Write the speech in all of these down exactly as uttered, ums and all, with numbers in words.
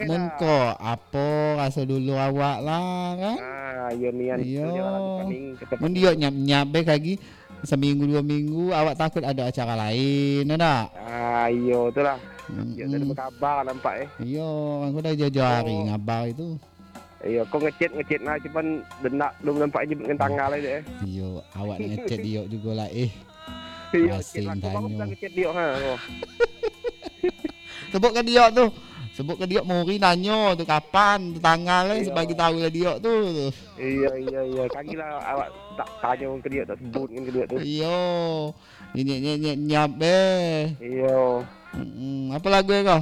Mun ko, apo raso dulu awak lah, kan? Ah, iyo nian. Iyo. Mun diok nyap-nyap be kagi, saminggu duo minggu, awak takuik ado acara lain, yo ndak? Ah, iyo, tu lah. Iyo, tak ada kabar nampak, eh. Iyo, kan ko dah jauh-jauh hari ngabar itu. Iyo, ko ngechat, ngechat nah, cuman dendak belum nampak nyebut dengan tanggal aja, eh. Iyo, awak nak ngechat diok jugo lah, eh. Iyo, chat lah. Ko bagus lah ngechat diok, ha. Sebut ka diok tu. Sebut ka diok, Muri nanyo tu kapan, tu tanggal, eh, sebagi tahu lah diok tu. Iyo, iyo, iyo. Kagi lah awak tak tanyo ka diok, tak sebut ka diok tu. Iyo. Nyek, nyek, nyek, nyap be. Iyo. Mm-mm. Apo lagu ko?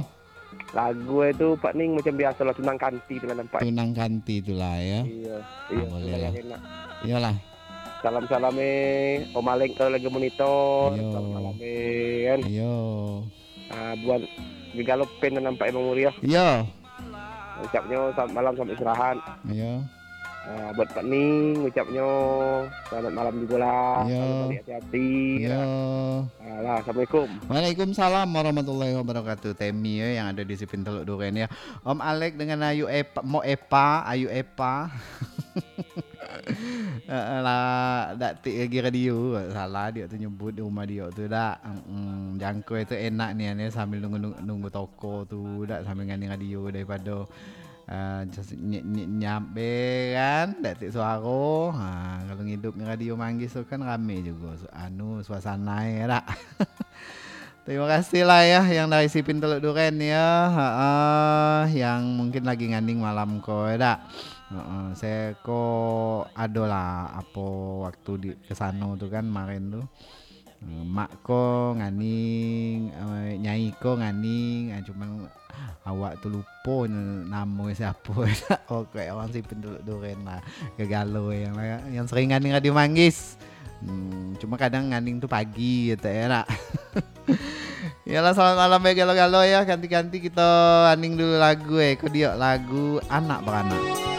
Lagu e tu, Pak Ning, macam biaso lah, Tunang Kanti tu lah nampak. Tunang Kanti tu lah, yo. Iyo, iyo, boleh lah. Enak. Iyolah. Salam-salam eh, Om Alek kalau lagi monitor. Iyo. Salam malam eh, kan. Iyo. Ah, buat Gegalo Pen lah nampak Bang Muri, yo. Iyo. Ucapnyo selamat malam, selamat istirahat. Iyo. Ah, buat Pak Ning, ucapnyo selamat malam jugo lah. Iyo. Selalu balik hati-hati. Iyo. Alah, assalamualaikum. Waalaikumsalam warahmatullahi wabarakatuh. Temi, eh, yang ada di Sipin Teluk Duren, ya. Om Alek dengan Ayu Epa, Mo Epa, Ayu Epa. Eh, eh, lah, dak tik lagi radio. Salah diok tu nyebut di rumah diok tu, dak. Mm, jangkau itu enak nian, ya, sambil nunggu, nunggu, nunggu toko tu, dak, sambil ngani radio daripada Ah, just nyek-nyek nyap be kan, dak tik suaro. Ha, kalau ngidup radio Manggis tu kan rame jugo su-, anu, suasana e, dak? Terima kasih lah ya, yang dari Sipin Teluk Duren ya. Ha, yang mungkin lagi nganing malam ko, ya dak? Ha, saya ko adolah apo waktu di, ke sano tu kan, kemarin tu. Eh, mak ko nganing, eh, nyai ko nganing, ah, cuman awak tu lupo nyo namo siapo. Pokok e urang Sipin Teluk Duren lah. Gegalo yang, yang sering nganing Radio Manggis. Hmm, cuma kadang nganing tu pagi gitu ya nak. Yalah, selamat malam ya galo-galo ya. Ganti-ganti kita aning dulu lagu eh. Ko diok lagu Anak Beranak.